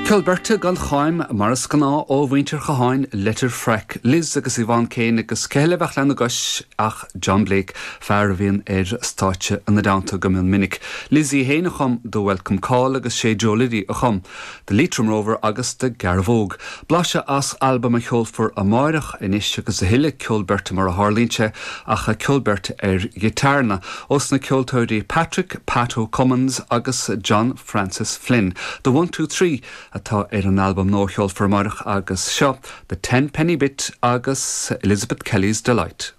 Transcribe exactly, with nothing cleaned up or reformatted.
Ceol beirte gan cháim mar is gnáth ó mhuintir Chatháin Leitir Fraic, Liz agus Yvonne Kane agus cé eile a bheadh lena gcois ach John Blake, fear a bhíonn ar stáitse ina dteannta go mion minic. Liz í féin a chum The Welcome Call agus sé Joe Liddy a chum, The Leitrim Rover agus The Garavogue. Blaiseadh as albam a sheolfar amárach anois agus a thuilleadh ceol beirte mar a tharlaíonn sé ach ceol beirte ar ghiotárna ós na ceoltóirí Patrick Pato Cummins agus John Francis Flynn. The One Two Three atá ar an albam nua a sheolfar amárach agus seo The Ten Penny Bit agus Elizabeth Kelly's Delight.